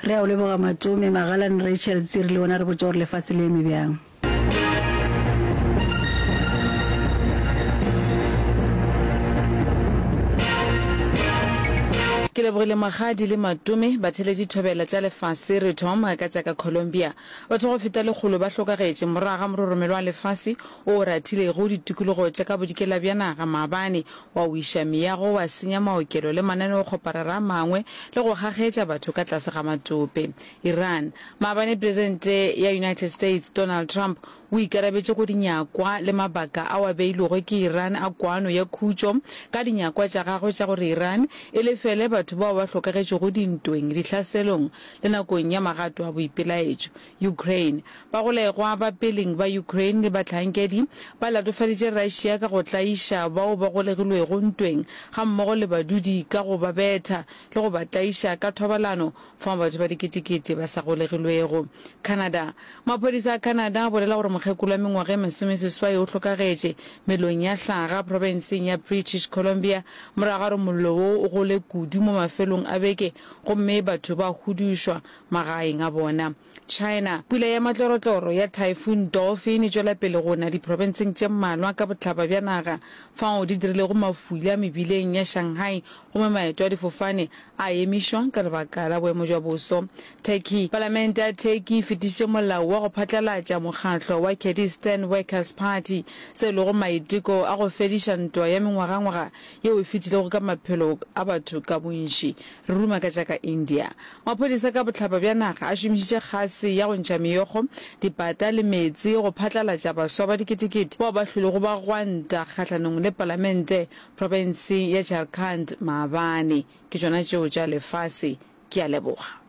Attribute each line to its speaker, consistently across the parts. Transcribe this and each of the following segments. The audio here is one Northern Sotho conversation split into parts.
Speaker 1: Re a o leboga Matome, Magalane Rachel Tsiri le wena re botša gore lefase le eme bjang.
Speaker 2: Ke lebogile Magadi le Matome, batheeletši thobela tša lefase re thoma ka tša ka Colombia. Batho ba go feta lekgolo ba hlokagetše morago ga mororomelo wa lefase wo o rathilego ditikologo tša ka bodikela bja naga maabane, wa wiša meago, wa senya maokelo le mananeokgoparara a mangwe le go kgakgetša batho ka tlase ga matope. Iran. Maabane Presidente ya United States Donald Trump o ikarabetše go dinyakwa le mabaka ao a beilwego ke Iran a kwano ya khutšo ka dinyakwa tša gagwe tša gore Iran e lefele batho bao ba hlokagetšego dintweng, dihlaselong le nakong ya magato a boipelaetšo. Ukraine. Bagolegwa ba peleng ba Ukraine le bahlankedi ba latofaditše Russia ka go tlaiša bao ba golegilwego ntweng gammogo le badudi ka go ba betha le go ba tlaiša ka thobalano fao batho ba diketekete ba sa golegilwego. Canada. Maphodisa a Canada a bolela gore mokgekolo wa mengwaga e masomeseswai o hlokagetše melong ya hlaga profenseng ya British Columbia morago ga gore mollo wo o gole kudu mo mafelong a beke gomme batho ba hudušwa magaeng a bona. China. Pula ya matlorotloro ya Typhoon Dolphin e tšwela pele go na diprofenseng tše mmalwa ka bohlaba bja naga, fao di dirilego mafula mebileng ya Shanghai gomme maeto a difofane a emišwa ka lebaka la boemo bja boso. Turkey. Palamente ya Turkey e fetišitše molao wa go phatlalatša mokgatlo wa Kurdistan Workers Party, se e lego maiteko a go fediša ntwa ya mengwagangwaga yeo e fetilego ka maphelo a batho ka bontši. Re ruma ka tša ka India. Maphodisa ka bohlaba bja naga a šomišitše kgase ya go ntšha meokgo, dipata le meetse go phatlalatša baswa ba diketekete bao ba hlwelego ba gwanta kgahlanong le palamente profenseng ya Jharkhand maabane. Ke tšona tšeo tša lefase. Ke a leboga.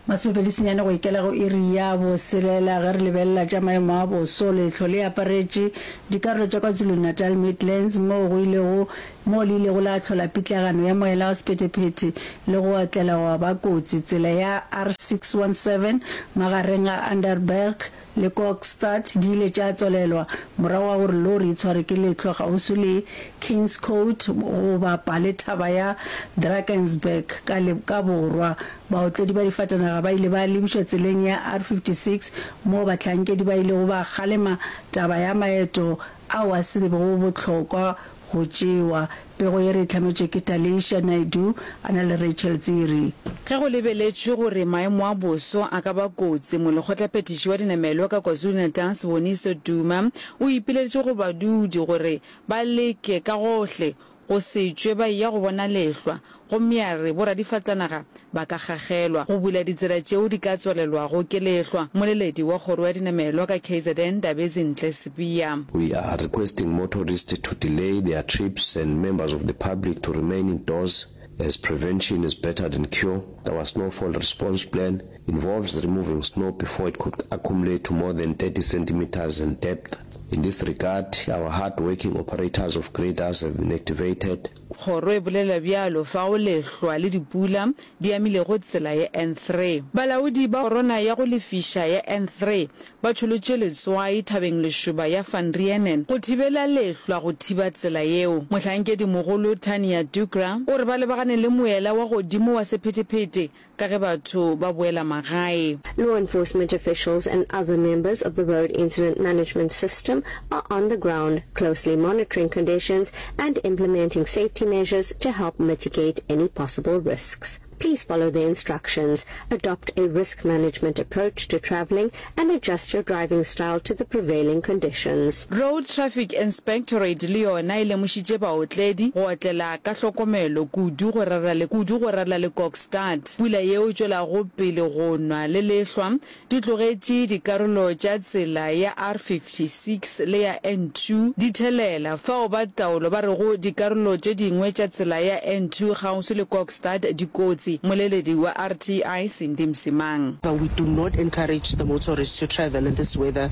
Speaker 1: Masomepedi senyane go ikela go iri ya boselela ge re lebelela tša maemo a boso, lehlwa le aparetše dikarolo tša KwaZulu-Natal Midlands moo go ilego moo le ilego la hlola pitlagano ya moela wa sephethephethe le go otlela gwa ba kotsi. Tsela ya R617 magareng ga Underberg le Kokstad di ile tša tswalelwa morago ga gore lori e tshwarwe ke lehlwa kgauswi le Kingscote go bapa le thaba ya Drakensberg ka ka borwa. Baotledi ba difatanaga ba ile ba lebišwa tseleng ya R56 moo bahlankedi ba ilego ba kgalema taba ya maeto ao a se bego bohlokwa go tšewa. Pego ye re e hlametšwe ke Talisha Naidoo a na le Rachel Tsiri.
Speaker 2: Ge go lebeletšwe gore maemo a boso a ka ba kotsi, molekgotlaphethiši wa dinamelwa ka KwaZulu-Natal Siboniso Duma o ipileditše go badudi gore ba leke ka gohle go se tšwe ba eya go bona lehlwa gomme a re boradifatanaga ba ka gagelwa go bula ditsela tšeo di ka tswalelwago ke lehlwa. Mmoleledi wa kgoro ya dinamelwa ka KZN Ndabezinhle Sibiya.
Speaker 3: We are requesting motorists to delay their trips and members of the public to remain indoors as prevention is better than cure. Our snowfall response plan involves removing snow before it could accumulate to more than 30 centimeters in depth. In this regard, our hard-working operators of graders have been activated.
Speaker 2: Kgoro e bolela bjalo fao lehlwa le dipula di amilego tsela ya N3. Balaodi ba kgorwana ya go lefiša ya N3 ba tšholotše letswai thabeng lešoba ya Van Reenen go thibela lehlwa go thiba tsela yeo. Mohlankedimogolo Tania Dugra o re ba lebagane le moela wa godimo wa sephetephete ka ge batho ba boela magae.
Speaker 4: Law enforcement officials and other members of the road incident management system are on the ground, closely monitoring conditions and implementing safety measures to help mitigate any possible risks. Please follow the instructions, adopt a risk management approach to travelling and adjust your driving style to the prevailing conditions.
Speaker 2: Road Traffic Inspectorate le yona e lemošitše baotledi go otlela ka hlokomelo kudu go rera le kudu go rera le Kokstad. Pula yeo e tšwelago pele go nwa le lehlwa di tlogetše dikarolo tša tsela ya R56 le ya N2 di thelela, fao ba taolo ba rego dikarolo tše dingwe tša tsela ya N2 kgauswi le Kokstad di kotsi. kotsi. Mmoleledi wa RTI, Cindy Msimang.
Speaker 5: We do not encourage the motorists to travel in this weather,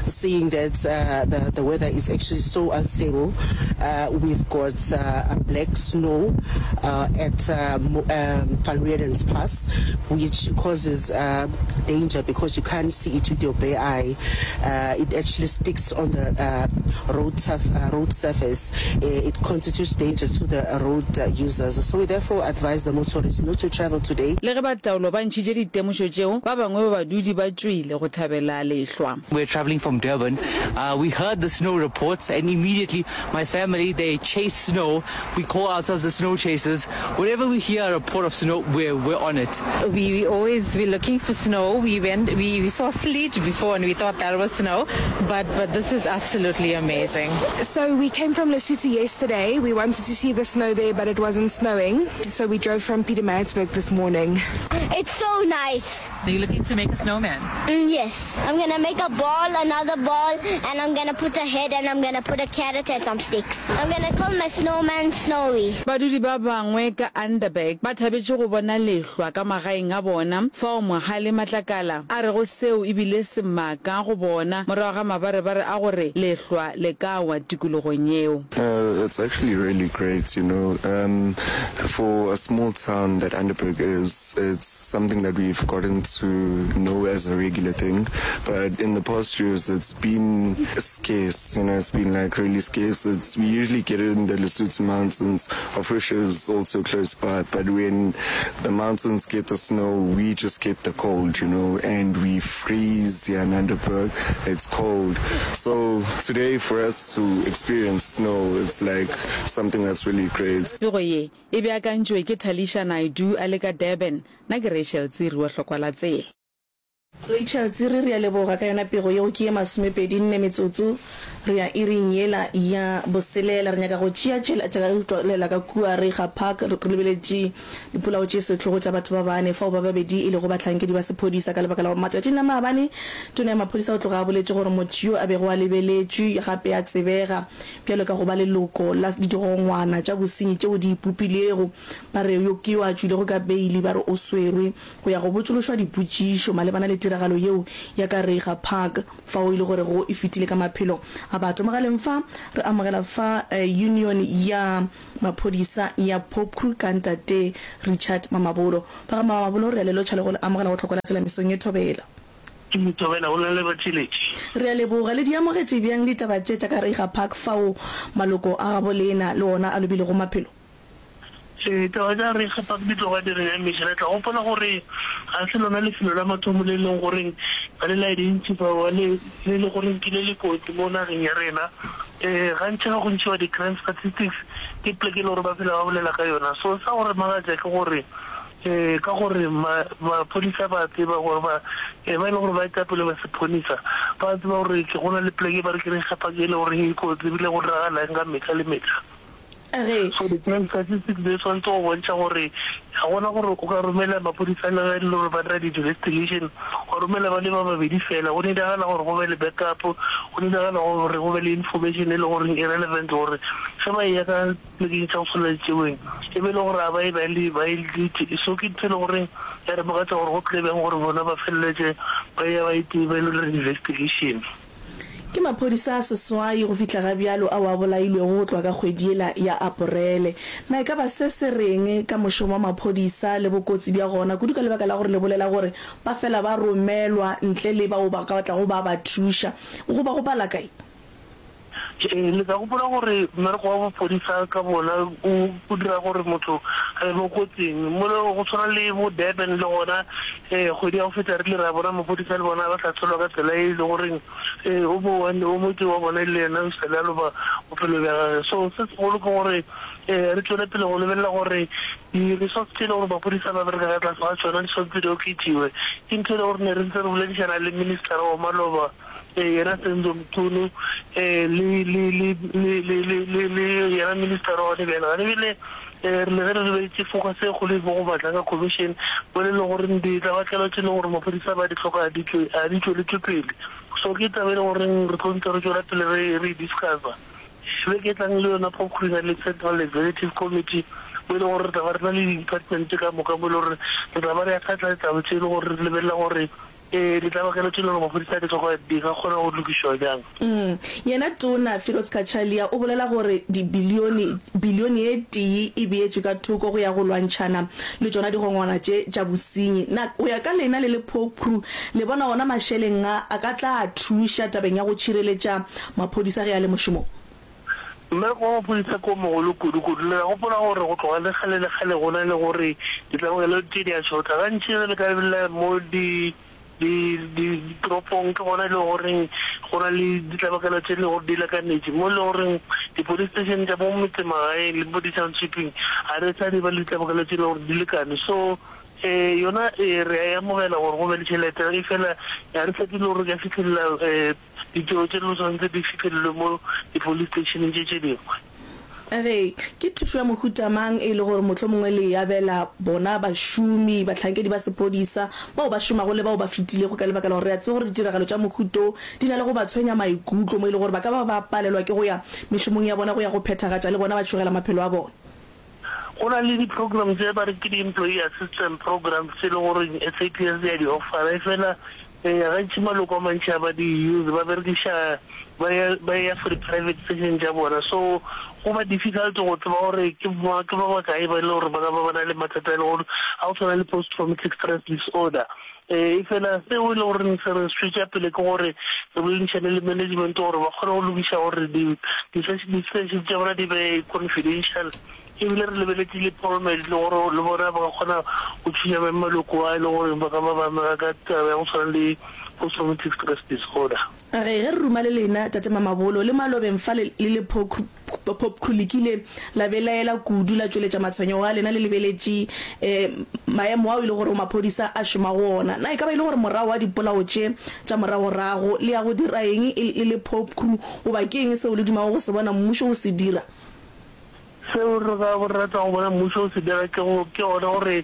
Speaker 5: seeing that the, the weather is actually so unstable. We've got black snow at Van Rieden's Pass, which causes danger because you can't see it with your bare eye. It actually sticks on the road, road surface. It constitutes danger to the road users. So we therefore advise the motorists not to travel today.
Speaker 2: Le ge ba taolo ba ntšhitše ditemošo tšeo, ba bangwe ba badudi ba tšwile go thabela lehlwa.
Speaker 6: We're traveling from Durban. Uh, we heard the snow reports and immediately my family, they chase snow. We call ourselves the snow chasers. Whenever we hear a report of snow, we're, we're on it.
Speaker 7: We, we always we're looking for snow. We went we, we saw sleet before and we thought that was snow, but but this is absolutely amazing.
Speaker 8: So we came from Lesotho yesterday. We wanted to see the snow there, but it wasn't snowing. So we drove from Pietermaritzburg this morning.
Speaker 9: It's so nice.
Speaker 7: Are you looking to make a snowman?
Speaker 9: Mm, yes. I'm gonna make a ball, another ball, and I'm gonna put a head and I'm gonna put a carrot and some sticks. I'm gonna call my snowman Snowy.
Speaker 2: Badudi ba bangwe ka Underberg ba thabetše go bona lehlwa ka magaeng a bona, fao Mohale Matlakala a rego seo e bile semaka go bona morago ga mabarebare a gore lehlwa le ka wa tikologong yeo.
Speaker 10: It's actually really great, you know, um, for a small town that Underberg is, it's something that we've gotten to know as a regular thing, but in the past years it's been scarce, you know, it's been like really scarce. It's, we usually get it in the Lesotho mountains, of which is also close by, but when the mountains get the snow, we just get the cold, you know, and we freeze here in Underberg, it's cold. So today for us to experience snow, it's like something that's really great.
Speaker 2: Pego ye e beakantšwe ke Talisha Naidoo a le ka Durban. Nna ke Rachel Tsiri wa Hlokwa la Tsela.
Speaker 11: Rachel Tsiri, re a leboga ka yona pego yeo. Ke ye masomepedi nne metsotso re ya iring yela ya boselela. Re nyaka go tšea tšela tša ka tšwelela ka kua Reiger Park re lebeletše dipolao tše sehlogo tša batho ba bane fao ba babedi e lego bahlankedi ba sephodisa ka lebaka la gore matšatšing a maabane tona ya maphodisa o tloga a boletše gore motho yo a bego a lebeletšwe gape a tsebega bjalo ka go ba leloko la digongwana tša bosenyi tšeo di ipopilego ba re yo ke yo a tšwilego ka beili ba re o swerwe go ya go botšološwa dipotšišo malebana le tiragalo yeo ya ka Reiger Park fao e le gorego e fetile ka maphelo a batho. Mogaleng fa re amogela fa Union ya Maphodisa ya Popcru ka Ntate Richard Mamabolo. Ba ga Mamabolo re a le lotšha le go le amogela go Tlhoko la Tsela mesong ye thobela.
Speaker 12: Ke thobela go na le batheeletši.
Speaker 11: Re a leboga. Le di amogetše bjang ditaba tše tša ka Reiger Park fao maloko a gabo lena le ona a lobilego maphelo?
Speaker 12: Ditaba tša Reiger Park di tloga di re nyamiša. Le tla gopola gore ga se lona lefelo la mathomo le e leng goreng ba le identify-wa le le le goreng ke le le kotsi mo nageng ya rena. Gantši ge go ntšhiwa di-crime statistics ke poleke e le gore ba phela ba bolela ka yona. So sa go re makatša ke gore ka gore maphodisa ba tseba gore ba ba e le gore ba etapele ba sephonisa ba tseba gore ke go na le poleke e ba re ke Reiger Park e le goreng e kotsi ebile go diragala eng ka metlha le metlha.
Speaker 11: Ge.
Speaker 12: So di-crime statistics di swanetše go bontšha gore ga gona gore o ka romela maphodisa le ge e le gore ba dira di-investigation, wa romela ba le ba babedi fela. Go nidagala gore go be le backup, go nidagala gore go be le information e le goreng e relevant gore ge ba eya ka polekeng tša go tshwana le tšeweng e be e le gore ga ba ye ba le ba e So ke ntho e le goreng ya re makatša gore go tlile bjang gore bona ba feleletše ba eya ba ba ilo dira di-investigation.
Speaker 11: Ke maphodisa a seswai go fihla ga bjalo ao a bolailwego go tloga ka kgwedi yela ya Aporele. Na e ka ba se se reng ka mošomo wa maphodisa le bokotsi bja gona, kudu ka lebaka la gore le bolela gore ba fela ba romelwa ntle le bao ba ka tlago ba ba thuša goba go pala kae?
Speaker 12: Ee, le tla gopola gore mmereko wa bophodisa ka bona o o dira gore motho a be mo kotsing. Mola go tshwana le bo Durban le gona kgwedi ya go feta re ile ra bona maphodisa le bona ba sa tsholwa ka tsela e le goreng o mo o motee wa bona le yena o sale a loba bophelo bja gage. So se segolo ke gore re tšwele pele go lebelela gore di-resource tše e le gore maphodisa ba bereka ka tlase ga tšona di swanetše di oketšiwe. Ke ntho e le gore ne re ntse re boledišana le minister wa maloba yena Senzo Mchunu le le le le le le le le yena minister wa gone bjale. Gane bjale re le ge re lebeletše focus e kgolo e mo go Madlanga Commission mo le le gore ditlabakelo tše e leng gore maphodisa ba di hloka di tšwe a di tšweletšwe pele. So ke taba e le goreng re tlo ntse re tšwela pele re re e discussa. Beke e tlang le yona Popcru e na le Central Executive Committee. Mo e lego gore re tla ba re na le di-department ka moka mo e lego gore re tla ba re akgatla ditaba tše e le gore re lebelela gore um ditlabakelo tše e lego gore maphodisa a di hloka di ka kgona go lokišwa bjang.
Speaker 11: Mm. Yena Tona Firoz Cachalia o bolela gore dibilione, bilione ye tee e beetšwe ka thoko go ya go lwantšhana le tšona digongwana tše tša bosenyi. Na go ya ka lena le le POPCRU le bona ona mašeleng a a ka tla thuša tabeng ya go tšhireletša maphodisa ge a le mošomong?
Speaker 12: Mmereko wa maphodisa ke o mogolo kudu-kudu. Le tla gopola gore go tloga le kgale le kgale go na le gore ditlabakelo tše di a šota. Gantši ge le ka lebelela mo di, di, di, ditoropong ke gona e le goreng go na le ditlabakelo tše e le gore di lekanetše. Mo e le goreng di-police station tša mo metsemagaeng le mo di-township-ing ga re sa di ba le ditlabakelo tše e le gore di lekane. So um yona ee re a e amogela gore go be le tšhelete, efela ga re tshepe le gore re ka fihlelela um Ditiro tše di swanetše di fihlelelwe mo di-police station tše tše dingwe.
Speaker 11: Ge, ke thušo ya mohuta mang e le gore mohlomongwe le e abela bona bašomi, bahlankedi ba sephodisa, bao ba šomago le bao ba fetilego ka lebaka la gore re a tseba gore ditiragalo tša mohuta wo di na le go ba tshwenya maikutlo mo e le gore ba ka ba ba palelwa ke go ya mešomong ya bona go ya go phethagatša le bona ba tšhogela maphelo a bona?
Speaker 12: Go na le di-program tše ba re ke di-employee assistance programs tše e le gore SAPS ya di offera, efela Eya, gantši maloko a mantši a ba di use, ba berekiša, ba ya, ba ya for di-private session tša bona. So go ba difficult go tseba gore ke ba, ke ba bakae ba e le gore ba ka ba ba na le mathata a e le gore a go tshwana le post traumatic stress disorder. E fela seo e le goreng se re tšwetša pele ke gore re boledišane le management gore ba kgone go lokiša gore di, di-session tša bona di be confidential. E bile re lebeletše le Polmed le gore le bona ba ka kgona go thuša beng maloko a e le gore ba ka ba ba amega ka taba ya go tshwana le post traumatic stress disorder.
Speaker 11: Ge, ge re ruma le lena, Tate Mamabolo, le malobeng fa le, le le Popcru le kile la belaela kudu, la tšweletša matshwenyego a lena le lebeletše um maemo ao e le gorego maphodisa a šoma go ona. Na e ka ba e le gore morago ga dipolao tše tša moragorago le ya go dira eng e le le Popcru goba ke eng seo le dumago go se bona mmušo o se dira?
Speaker 12: Seo re ka rata go bona mmušo o se dira ke go ke gona gore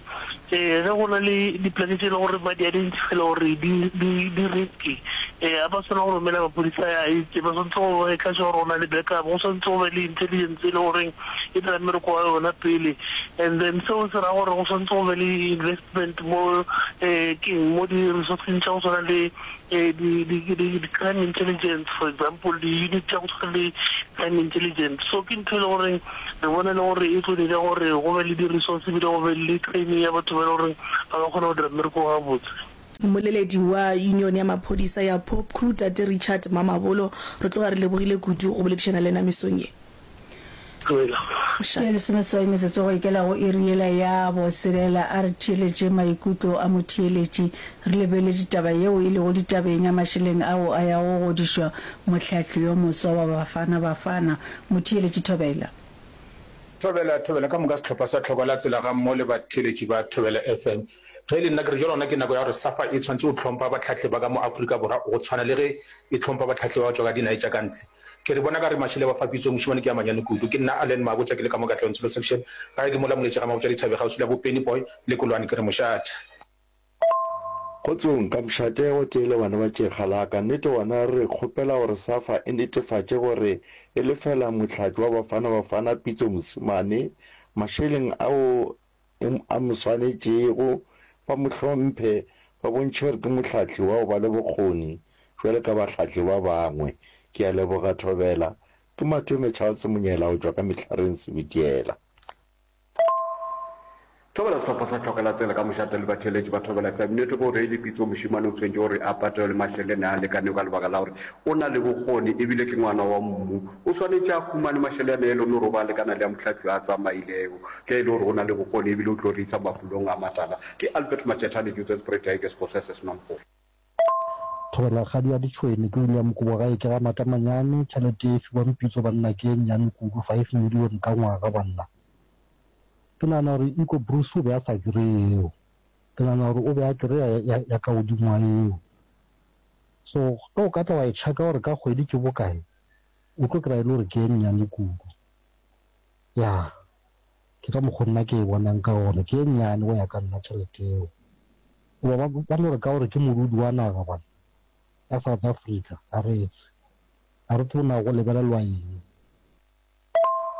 Speaker 12: ge go na le dipoleke tše e le gore ba di identify-ile gore di di di risky ga ba swanela go romela maphodisa a itse ba swanetse go maker sure gore go na le backup go swanetse go be le intelligence e le goreng e dira mmereko wa yona pele and then seo se ra gore go swanetse go be le investment mo keng mo di-resourceng tša go tshwana le di, di, di, di crime intelligence for example di-unit tša go tshwana le crime intelligence. So ke ntho e le goreng re bona e le gore e tlo dira gore go be le di-resource ebile go be le training ya batho ba e le goreng ba ka kgona go dira mmereko gabotse.
Speaker 11: Mmoleledi wa Union ya Maphodisa ya Popcru, Tate Richard Mamabolo, re tloga re lebogile kudu go boledišana le yena mesong ye.
Speaker 12: Tlogela.
Speaker 1: Ke lesomeseswai metsotso go ikela go iri yela ya boselela. A re theeletše maikutlo a motheeletši. Re lebeletše taba yeo e lego ditabeng ya mašeleng ao a yago go godišwa mohlahli yo moswa wa Bafana Bafana. Motheeletši Thobela.
Speaker 13: Thobela, Thobela ka moka sehlopha sa Tlhoko la Tsela gammogo le batheeletši ba Thobela FM. Ge e le nna ke re jwale gona ke nako ya gore SAFA e tshwanetše go hlompha bahlahli ba ka mo Afrika Borwa go tshwana le ge e hlompha bahlahli ba go tšwa ka dinae tša ka ntle. Ke re bona ka re mašele ba fa pitso mošemane ke a manyane kudu. Ke nna Allen Mabotja ke le ka mo Katlehong Tsholo Section. Gae ke mola Moletši ga Mabotja Dithabe kgauswi la bo Penny Boy le Kolwane ke re mošate.
Speaker 14: Kgotsong, ka mošate gotee le bana ba tšekga la ka. Nnete gona re kgopela gore SAFA e netefatše gore e lefela mohlahli wa Bafana Bafana Pitso Mosimane mašeleng ao a mo swanetšego, ba mo hlomphe, ba bontšhe gore ke mohlahli wa go ba le bokgoni bjalo ka bahlahli ba bangwe. Ke a leboga Thobela. Ke Matome Charles Monyela go tšwa ka Mehlareng Sebitiela.
Speaker 15: Thobela Sehlopha sa Tlhokela Tsela ka mošate le batheeletši ba Thobela FM. Nnete ke gore e le Pitso mošemane o tshwentše gore a patelwe mašelene a lekanego ka lebaka la gore o na le bokgoni ebile ke ngwana wa mmu. O swanetše a humane mašelene e le gore o ba lekana le a mohlahli a tsamailego ge e le gore o na le bokgoni ebile o tlo re isa mafulong a matala. Ke Albert Matšethane, Johannesburg Tigers, Bosese Senompolo.
Speaker 16: Thobela kgadi ya ditšhwene ke William Kobo gae ke ga Matamanyane tšhelete e fiwang Pitso banna ke e nnyane kudu 5 million ka ngwaga banna ke nagana gore Iko Bruce o be a sa kreye yeo ke nagana gore o be a kreya ya, ya ka godimo ga yeo so ge o ka tla wa e checka gore ka kgwedi ke bokae o tlo kry-a e le gore ke e nnyane kudu ya ke ka mokgo nna ke e bonang ka gona ke e nnyane go ya ka nna tšhelete eo Goba ba, ba no re ka gore ke modudi wa naga gona ya South Africa, ga re tswe. Ga re tsebe na go lebelelwa eng.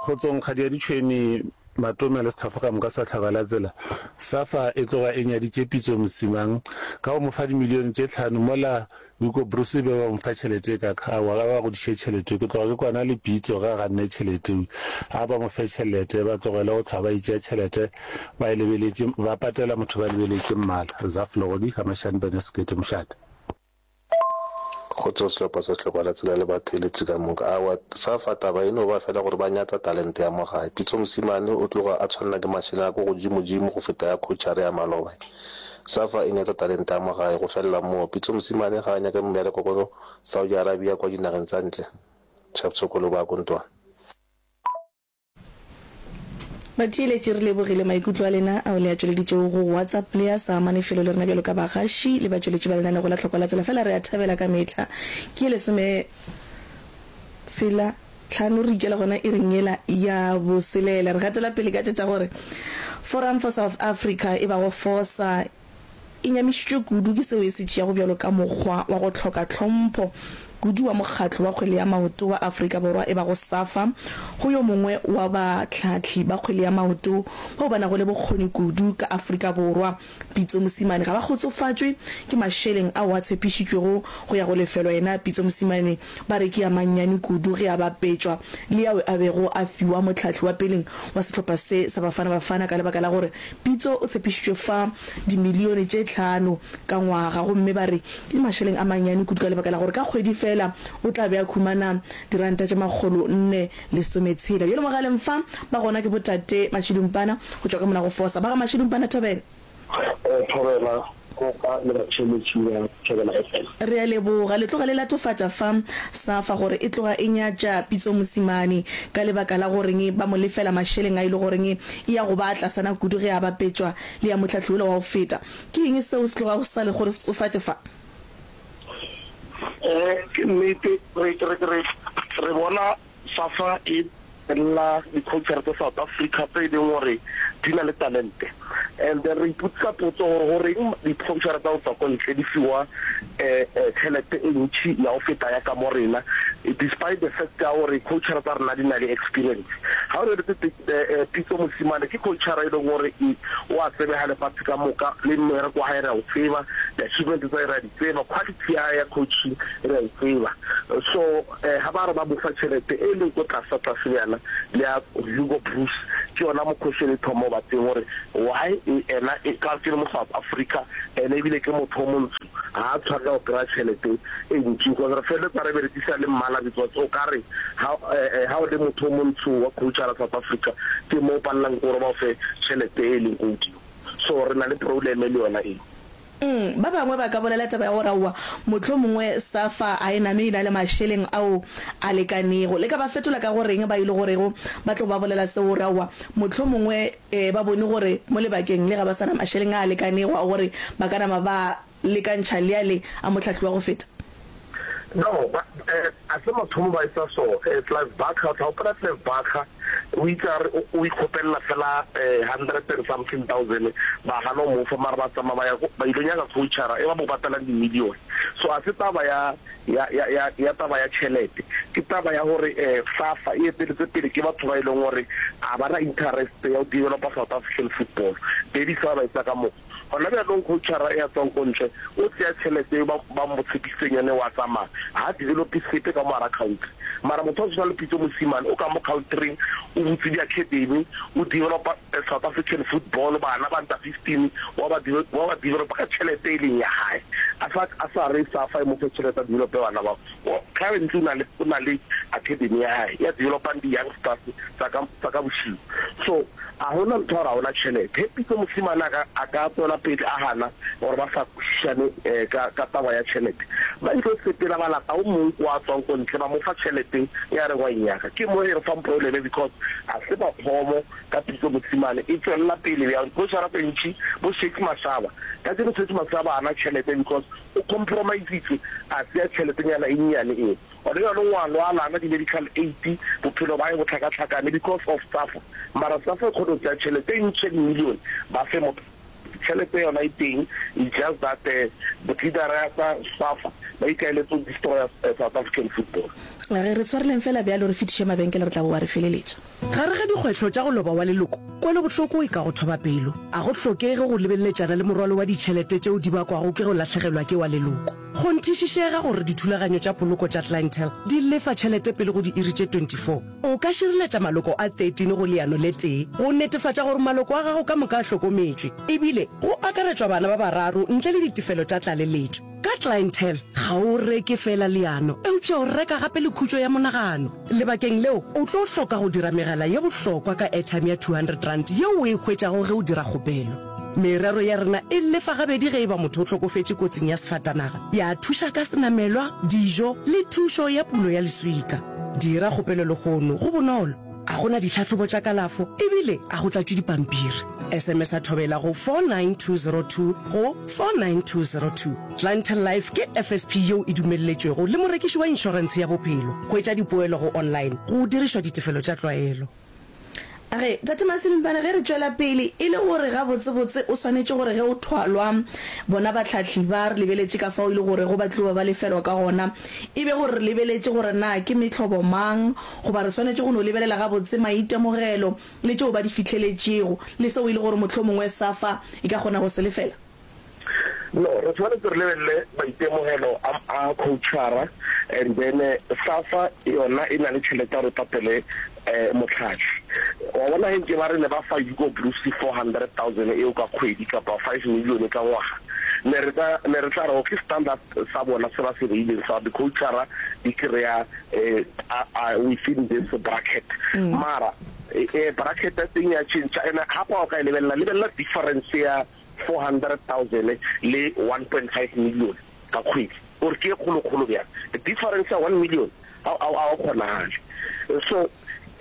Speaker 13: Kgotsong kgadi ya ditšhwene.
Speaker 17: Matome le sehlopha ka moka sa Hlaba la Tsela. Safa e tloga e nyaditše Pitso Mosimang ka go mo fa dimilione tše tlhano mola Hugo Broos e be ba mo fa tšhelete e kaka. Aowa, ga ba godiše tšhelete. Ke tloga ke kwana le Pitso ge a ganne tšhelete. A ba mo fe tšhelete, ba tlogele go hlwa ba itšea tšhelete ba e lebeletše, ba patela motho ba lebeletše mmala. Zaf Legodi, Ga-Mashane Bene Sekete Mošate.
Speaker 3: Kgotso sehlopha sa Hlokwa la Tsela le batheeletši ka moka. Aowa, Safa taba e no ba fela gore ba nyatsa talente ya mo gae. Pitso Mosimane o tloga a tshwanela ke mašeleng a ko godimodimo go feta ya coachara ya maloba. Safa e nyatsa talente ya mo gae go felela moo. Pitso Mosimane ga a nyake mmereko ko Saudi Arabia kwa dinageng tsa ntle. Chaps Koloba a ko ntwana.
Speaker 11: Batheeletši re lebogile maikutlo a lena ao le a tšweleditšego go WhatsApp le a sa amane felo le rena bjalo ka bagaši le batšweletši ba lenanego la Tlhokwa la Tsela fela re a thabela ka mehla. Ke ye lesome tshela tlhano re ikela gona iring yela ya boselela. Re gatela pele ka tše tša gore Forum for South Africa e bago FOSA e nyamišitšwe kudu ke seo e se tšeago bjalo ka mokgwa wa go hloka tlhompho kudu wa mokgatlo wa kgwele ya maoto wa Afrika Borwa e bago SAFA go yo mongwe wa bahlahli ba kgwele ya maoto bao ba nago le bokgoni kudu ka Afrika Borwa, Pitso Mosimane. Ga ba kgotsofatšwe ke mašeleng ao a tshepišitšwego go ya go lefelwa yena Pitso Mosimane ba re ke a mannyane kudu ge a bapetšwa le ao a bego a fiwa mohlahli wa peleng wa sehlopha se sa Bafana Bafana ka lebaka la gore Pitso o tshepišitšwe fa dimilione tše tlhano ka ngwaga gomme ba re ke mašeleng a mannyane kudu ka lebaka la gore ka kgwedi feela o tla be a khumana diranta tše makgolo nne lesometshela. Bjale mogaleng fa ba gona ke botate Mashidumpana go tšwa ka mona go Fosa. Ba ga Mashidumpana thobela.
Speaker 18: Thobela, Kopa le batheeletši ba Thobela FM.
Speaker 11: Re a leboga. Le tloga le latofatša fa Safa gore e tloga e nyatša Pitso Mosimane ka lebaka la goreng ba mo lefela mašeleng a e le goreng e ya go ba a tlasana kudu ge a bapetšwa le ya mohlahli wola wa go feta. Ke eng seo se tlogago se sa le kgotsofatše fa?
Speaker 18: Ke nnete, re, re, re, re bona Safa e lla di-coachara tsa South Africa tse e leng gore di na le talente. And then re ipotsisa potso gore goreng di-coachara tsa go tswa ko ntle di fiwa tšhelete e ntši ya go feta ya ka mo rena, despite the fact ya gore coachara tsa rena di na le experience. Ga o lebeletse Pitso Mosimane ke coachara e leng gore o a tsebega lefatshe ka moka, le mmereko wa gae re a o tseba, di-achievement tsa gae re a di tseba, quality ya gae ya coaching re a e tseba. So Ga ba re ba mo fa tšhelete e leng ko tlasa tlase bjana le ya Hugo Broos, ke yona mo question e thoma go ba teng gore why ena e ka ke le mo South Africa ene ebile ke motho o montsho ga a tshwanela go kry-a tšhelete e ntši because re feleletsa re berekisa le mmala because o kare ga ga o le motho o montsho wa coachara South Africa ke mo o palelang ke gore ba o fe tšhelete e leng ko godimo so re na le problem le yona eo.
Speaker 11: Umm, ba bangwe ba ka bolela taba ya gore aowa, mohlomongwe SAFA a e name e na le mašeleng ao a lekanego. Le ka ba fetola ka go reng ba e le gorego ba tlo ba bolela seo gore aowa, mohlomongwe eh, ba bone gore mo lebakeng le ga ba sa na mašeleng a a lekanego a gore ba ka nama ba lekantšha le ale a mohlahli wa go feta?
Speaker 18: No, ba, eh, a se mathomo ba etsa so. Eh, Clive Barker, o tla gopola Clive Barker, o itse a re o, o ikgopelela fela eh, hundred and something thousand, ba gana go mo fa, mara ba tsamaya ba ya ko, ba ilo nyaka coachara e ba mo patalang di-million. So a se taba ya, ya, ya, ya, ya taba ya tšhelete, ke taba ya gore eh, SAFA e eteletswe pele ke batho ba e leng gore a ba na interest ya go developa South African football. That is why ba etsa ka mokgwa. Gona bjanong coachara ya tswang ko ntle o tseya tšhelete eo ba ba mo tshepisitseng yone wa tsamaya, ga a develope sepe ka mo gara country. Mara motho wa go tshwana le Pitso Mosimane o ka mo countryng o butse di academy, o developa South African football, bana ba under 15 wa ba wa ba developa ka tšhelete e leng ya hae. A sa a sa re SAFA e mo fe tšhelete a develope bana bao. Currently o na le o na le academy ya hae ya developang di youngsters tsa ka tsa ka bošiu. So a hona ntho ya gore a hona tšhelete. Ge Pitso Mosimane a ka a ka tswela pele a gana gore ba sa kwešišane ka ka taba ya tšhelete, ba ilo sepela ba lata o mong kwa a tswang ko ntle ba mo fa tšhelete e a reng wa e nyaka. Ke mo e re fang probleme because a se mathomo ka Pitso Mosimane e tswelela pele bjang. Coachara tse ntši bo Shakes Mashaba, kajeno Shakes Mashaba a na tšhelete because O compromisitšwe, a tsea tšheletenyana e nnyane eo. Gona bjalo o a lwala, a na di-medical aid, bophelo ba hae bo hlakahlakane because of SAFA. Mara SAFA e kgone go tsea tšhelete e ntši ya di-million ba fe motho. Tšhelete yona e teng, it's just that leadera ya tsa SAFA ba ikaeletse go destroyer South African football.
Speaker 11: Ge re tshwareleng fela bjalo re fetiše mabenkele re tla bowa re feleletša.
Speaker 19: Gare ga dikgwehlo tša go loba wa leloko, kwelobohloko e ka go thoba pelo. A go hlokege go lebeleletšana le morwalo wa ditšhelete tšeo di bakwago ke go lahlegelwa ke wa leloko. Kgonthišišega gore dithulaganyo tša poloko tša Clientele di lefa tšhelete pele go diiri tše 24. O ka šireletša maloko a 13 go leano le tee go netefatša gore maloko a gago ka moka a hlokometšwe, ebile go akaretšwa bana ba bararo ntle le ditefelo tša tlaleletšo. Ka Clientele, ga o reke feela leano, eupša o reka gape le khutšo ya monagano. Lebakeng leo, o tlo hloka go dira megala ye bohlokwa ka airtime ya R200 yeo o e hwetšago ge o dira kgopelo. Merero ya rena e lefa gabedi ge e ba motho o hlokofetše kotsing ya sefatanaga, ya thuša ka senamelwa, dijo le thušo ya pulo ya leswika. Dira kgopelo lehono, go bonolo, ga go na ditlhahlobo tša kalafo ebile ga go tlatšwe dipampiri. SMS-a Thobela go 49202 go 49202. Clientele Life ke FSP yeo e dumelletšwego le morekiši wa inšorentshe ya bophelo. Hwetša dipoelo go online go dirišwa ditefelo tša tlwaelo.
Speaker 11: A re, Tate Masemimpane, ge re tšwela pele, e le gore gabotsebotse o swanetše gore ge o thwalwa, bona bahlahli ba, re lebeletše ka fao e le gorego ba tlo ba ba lefelwa ka gona, e be gore re lebeletše gore na ke mehlobo mang, goba re swanetše go no lebelela gabotse maitemogelo le tšeo ba di fihleletšego, le seo e le gore mohlomongwe SAFA e ka kgona go se lefela?
Speaker 18: No, re tshwanetse re lebelele maitemogelo a a coachara and then SAFA yona e na le tšhelete ya gore e patele motlhahli. Wa bona ge nke ba re ne ba fa Hugo Broos 400,000 eo ka kgwedi kapa 5 million ka ngwaga, ne re tla ne re tla re okay standard sa bona se ba se beileng sa di-coachara di kry-a within this bracket. Mara bracket ya teng ya change and gape ga o ka e lebelela, lebelela difference ya 400,000 le 1.5 million ka kgwedi, o re ke e kgolokgolo bjang? Difference ya 1 million ga o kgonagale. So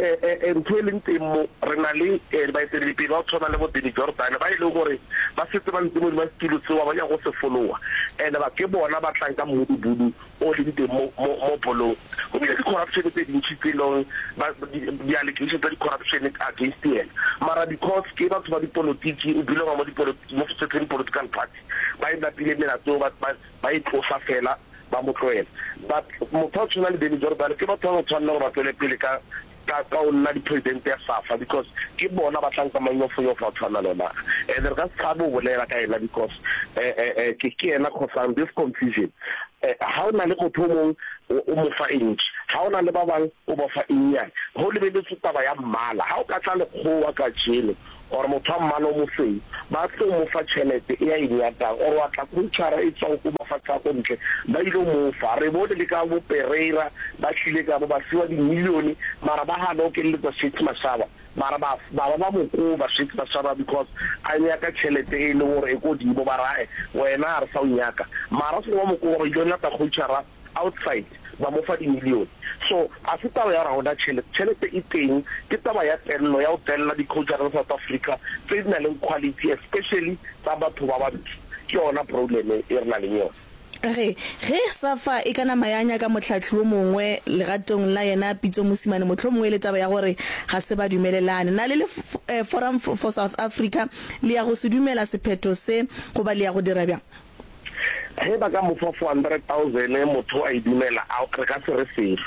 Speaker 18: ntho e leng teng mo, re na le baeteledipele ba go tshwana le bo Danny Jordaan ba e leng gore ba setse ba ntse mo hodima setulo seo ba nyaka go se fologa, and ba ke bona ba tlang ka mmudubudu o leng teng mo, mo, mo bolong. Go bile di-corruption tse dintši tse e leng ba, di, di-allegation tsa di-corruption against yena. Mara because ke batho ba dipolotiki, o belonga mo dipolo, mo certain political party, ba e napile melato eo ba, ba, ba e tlosa fela, ba mo tlohela. But motho a tshwana le Danny Jordaan ke batho ba ba tshwanela gore ba tswele pele ka, ka ka go nna di-president ya SAFA because ke bona ba tlang ka manyofonyofo a tshwana le ona. And re ka se tshabe go bolela ka yena because ke ke yena causang this confusion. Ha o na le motho o mong o mo fa e ntši, ha o na le ba bang o ba fa e nnyane. Go lebeletswe taba ya mmala, ha o ka tla lekgowa kajeno or motho wa mmala o mosweu, ba tlo mo fa tšhelete e a e nyakang, or wa tla coachara e tswang ko mafatshe a ko ntle, ba ile mo fa. Re bone le ka bo Pereira ba tlile ka mo ba fiwa di millione, mara ba gana o keleletsa Shakes Mashaba, mara ba ba ba ba mo koba Shakes Mashaba because a nyaka tšhelete e leng gore e ko dimo, ba re ae wena ga re sa o nyaka, mara se ba mo koba ba ile lata coachara outside ba mo fa di millione. So a se taba ya gore ga gona tšhelete, tšhelete e teng, ke taba ya tello, ya go tella di-coachara tsa South Africa tse di na leng quality especially tsa batho ba bantsho, ke yona problem e re na leng yona.
Speaker 11: Re, ge SAFA e ka nama ya nyaka mohlahli wo mongwe legatong la yena Pitso Mosimane mohlomongwe e le taba ya gore ga se ba dumelelane. Na le le Forum for South Africa le ya go se dumela sephetho se goba le ya go dira bjang?
Speaker 18: Ge ba ka mo fa 400,000 motho a e dumela, a re ka se re selo.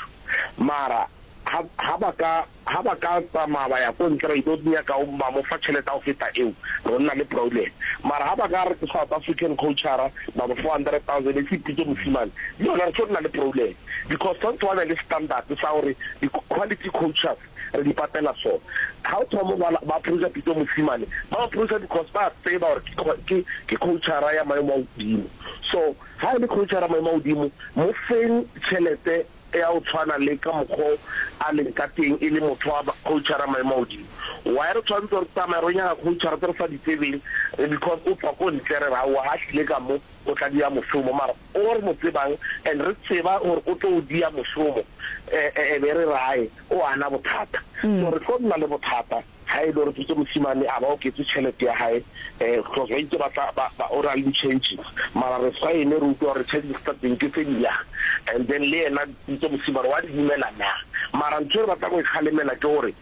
Speaker 18: Mara ha, ha ba ka, ha ba ka tsamaya ba ya ko ntle ba ilo nyaka ba mo fa tšhelete ya go feta eo, ro nna le problem. Mara ha ba ka re ke South African coachara ba mo 400,000 e se Pitso Mosimane, le yona re tlo nna le problem. Because tshwanetse ba be le standard sa gore di quality coachers re di patela so. Ha o thoma ba ba approacha Pitso Mosimane, ba approacha because ba tseba gore ke ke ke coachara ya maemo a godimo. So ha e le coachara maemo a godimo, mo feng tšhelete ya go tshwana le ka mokgo a leng ka teng e le motho wa coachara maemo a godimo. Why re tshwanetse re tsamaye re nyaka coachara tse re sa di tsebeng because o tswa ko ntle re re aowa ha tlile ka mo o tla dia mošomo mara o re mo tsebang and re tseba gore o tlo o dia mošomo e be re re ae o ana bothata. So re tlo nna le bothata ha e le gore Pitso Mosimane a ba oketse tšhelete ya hae because ba itse ba tla ba ba o na le di-changes mara re sa eme re utlwa gore charges tsa teng ke tse di yang and then le yena Pitso Mosimane wa di dumela na. Mara ntho e re batlang go e kgalemela ke gore.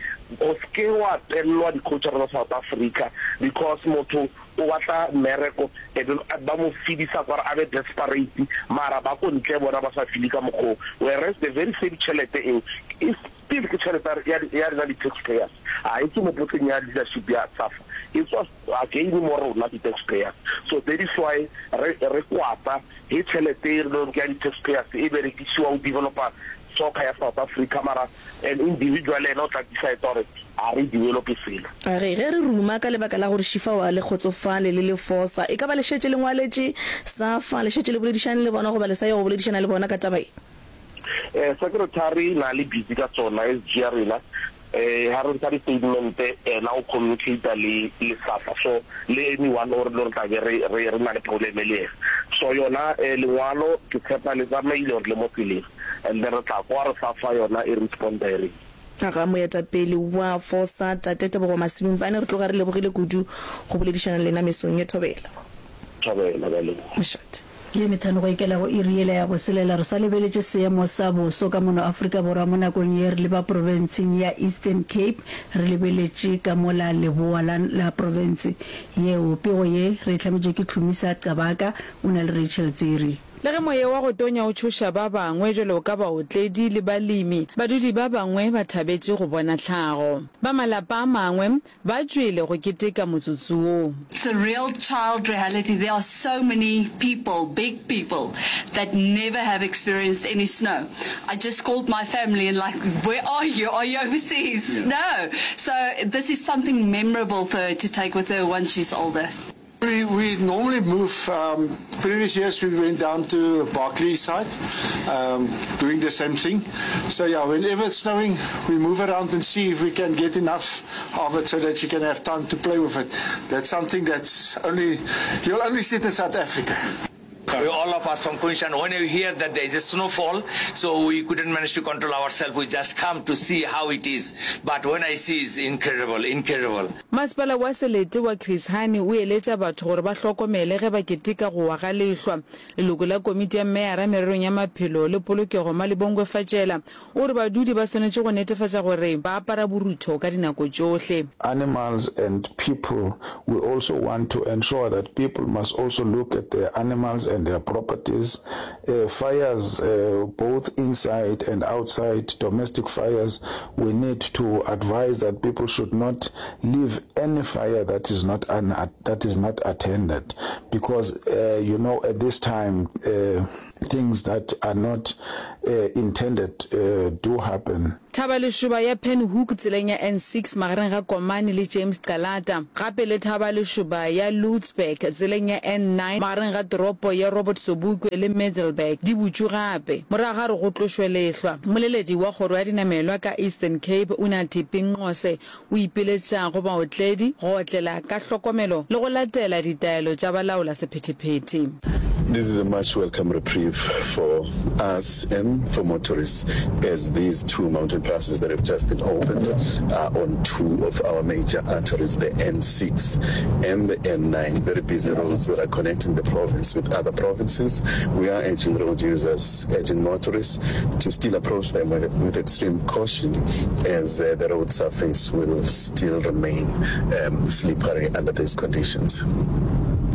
Speaker 18: O se ke wa tellwa di-coach-ara tsa South Africa because motho o batla mmereko e be ba mo feedisa kware a be desperate mara ba ko ntle bona ba sa feel-e ka mokgwa oo whereas the very same tšhelete eo e still ke tšhelete ya ya rena di-tax payers ga e tswe mo potleng ya leadership ya SAFA e tswa again mo rona di-tax payers so that is why re re kwata he tšhelete e re leng ke ya di-tax payers e berekisiwa go developa soccer ya South Africa mara an individual yena o tla decide gore ga re develope selo.
Speaker 11: A re, Ge re ruma ka lebaka la gore Šifao a le kgotsofale le le fosa, e ka ba le šetše le ngwaletše SAFA, le šetše le boledišane le bona goba le sa ya go boledišana le bona ka taba ye?
Speaker 18: Eh, secretary na le busy ka tsona, SG ya rena, eh, ha re ntsha di-statement ena o communicate le le SAFA, so le anyone o re lo re tla be re re re na le problem le yena. So yona eh, lengwalo ke tshepa le tsamaile or le mo tseleng and then re tla kwa re SAFA yona e responda e reng.
Speaker 11: Ga moetapele wa FOSA, Tate Tebogo Masibumpane, re tloga re lebogile kudu go boledišana le lena mesong ye. Thobela.
Speaker 18: Thobela, ke a leboga.
Speaker 11: Mošate.
Speaker 1: Ke methano go ikela go iri yela ya boselela. Re sa lebeletše seemo sa boso ka mono Afrika Borwa mo nakong ye re leba profenseng ya Eastern Cape re lebeletše ka mola leboa la la profense yeo. Pego ye re e hlametšwe ke Hlumisa Qabaka o na le Rachel Tsiri.
Speaker 2: Le ge moya wa go tonya o tšhoša ba bangwe bjalo ka baotledi le balemi, badudi ba bangwe ba thabetše go bona tlhago. Ba malapa a mangwe ba tšwele go keteka motsotso wo.
Speaker 20: It's a real child reality, there are so many people, big people, that never have experienced any snow. I just called my family and like, where are you? Are you overseas? No. So this is something memorable for her to take with her once she's older.
Speaker 21: We, we normally move, um, previous years we went down to Barkly side, um, doing the same thing. So yeah, whenever it's snowing, we move around and see if we can get enough of it so that you can have time to play with it. That's something that's only, you'll only see it in South Africa.
Speaker 22: We all of us from Kunshan, when we hear that there is a snowfall, so we couldn't manage to control ourselves. We just come to see how it is. But when I see, it's incredible, incredible.
Speaker 2: Masepala wa Selete wa Chris Hani o eletša batho gore ba hlokomele ge ba keteka go wa ga lehlwa. Leloko la komiti ya meyara mererong ya maphelo le polokego Malibongwe Fatjela O re badudi ba swanetše go netefatša gore ba apara borutho ka dinako tšohle.
Speaker 23: Animals and people, we also want to ensure that people must also look at their animals and their properties. Fires both inside and outside, domestic fires, we need to advise that people should not leave any fire that is not that is not attended because you know at this time Things that are not intended do happen.
Speaker 2: Thaba lešoba ya Penhoek tseleng ya N6 magareng ga Komani le James Calata, gape le Thaba lešoba ya Lootsberg tseleng ya N9 magareng ga toropo ya Robert Sobukwe le Middelburg di butšwe gape morago ga gore go tlošwe lehlwa. Mmoleledi wa kgoro ya dinamelwa ka Eastern Cape Unathi Pinqose O ipiletša go baotledi go otlela ka hlokomelo le go latela ditaelo tša balaola sephethephethe.
Speaker 24: This is a much welcome reprieve for us and for motorists as these two mountain passes that have just been opened are on two of our major arteries, the N6 and the N9, very busy roads that are connecting the province with other provinces. We are urging road users, urging motorists to still approach them with, with extreme caution as uh, the road surface will still remain um, slippery under these conditions.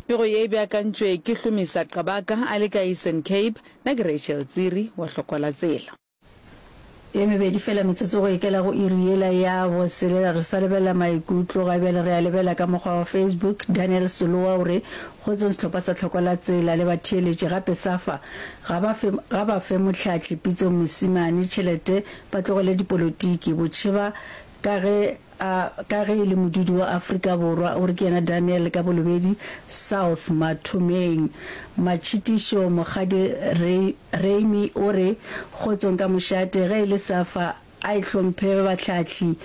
Speaker 2: Pego ye e beakantšwe ke Hlomisa Qabaka a le ka Eastern Cape, nna ke Rachel Tsiri wa Hlokwa la Tsela.
Speaker 1: Ye mebedi fela metsotso go ikela go iri yela ya boselela. Re sa lebelela maikutlo ga bjale, re a lebela ka mokgwa wa Facebook. Daniel Soloa o re, Kgotsong sehlopha sa Hlokwa la Tsela le batheeletši gape SAFA ga ba fe, ga ba fe mohlahli Pitso Mosimane tšhelete ba tlogele dipolotiki. Botšheba ka ge a, ka ge e le modudi wa Afrika Borwa, o re ke yena Daniel ka Bolobedi South Mathomeng. Matšhitišo Mokgadi Ray, Raimy o re, Kgotsong ka mošate, ge e le SAFA a e hlomphe bahlahli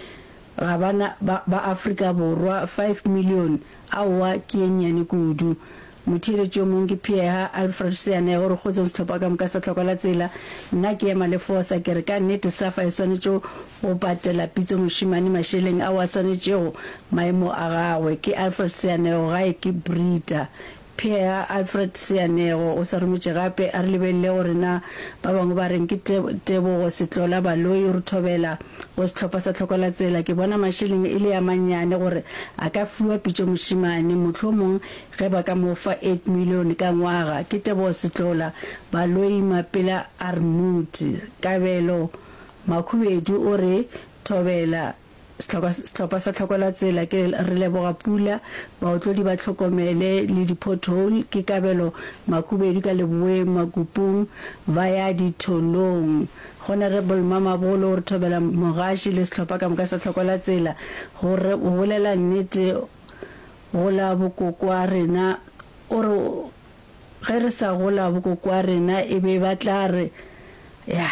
Speaker 1: ga ba na, ba, ba Afrika Borwa, 5 million aowa ke ye nnyane kudu. Motheeletši yo mongwe ke Pheeha Alfred Seanego o re, Kgotsong sehlopha ka moka sa Tlhokwa la Tsela, nna ke ema le fosa, ke re ka nnete SAFA e swanetše go patela Pitso Mošemane mašeleng ao a swanetšego maemo a gagwe. Ke Alfred Seanego gae ke Brita. Pheeha Alfred Seanego o sa rometše gape a re lebelele gore na ba bangwe ba reng. Ke Tebogo Setlola Baloyi o re thobela. Go sehlopha sa Tlhokolatsela ke bona mašeleng e le a mannyane gore a ka fiwa Pitšo Mošemane, mohlomong ge ba ka mo fa 8 milione ka ngwaga. Ke Tebogo Setlola, Baloi Mapela Armut, Kabelo Makhubedu o re Thobela. Sehlopha sa Tlhokolatsela ke Re leboga pula, baotlodi ba hlokomele le di-pothole, ke Kabelo Makhubedu ka Leboeng Makupung ba ya ditholong. Honourable Mamabolo o re thobela mogaši le sehlopha ka moka sa Tlhokolatsela go re go bolela nnete go la bokokoa rena o re Ge re sa gola bokokoa rena e be ba tla re, Ya,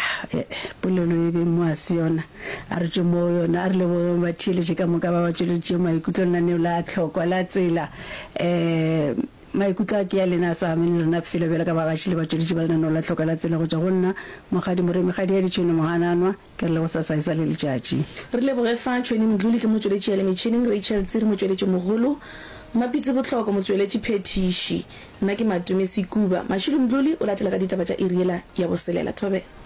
Speaker 1: polelo e be mo a se yona. A re tšwe mo yona. A re lebogeng batheeletši ka moka ba ba tšweleditšego maikutlo lenaneo la tlhokwa la tsela. Um maikutlo a ke a lena a sa amene le rena felo bjalo ka bagaši le batšweletši ba lenaneo la tlhokwa la tsela go tšwa go nna, Mokgadi Moremi Kgadi ya Ditšhwene Mohananwa, ke re le gosasa e sa le letšatši.
Speaker 11: Re leboge fa Tšhweni Mdluli ke motšweletši ya le metšhineng, Rachel Tsiri motšweletši mogolo, Mmapitsi Bohloko motšweletši phethiši. Nna ke Matome Sekuba. Mašilu Mdluli o latela ka ditaba tša iri yela ya boselela. Thobela.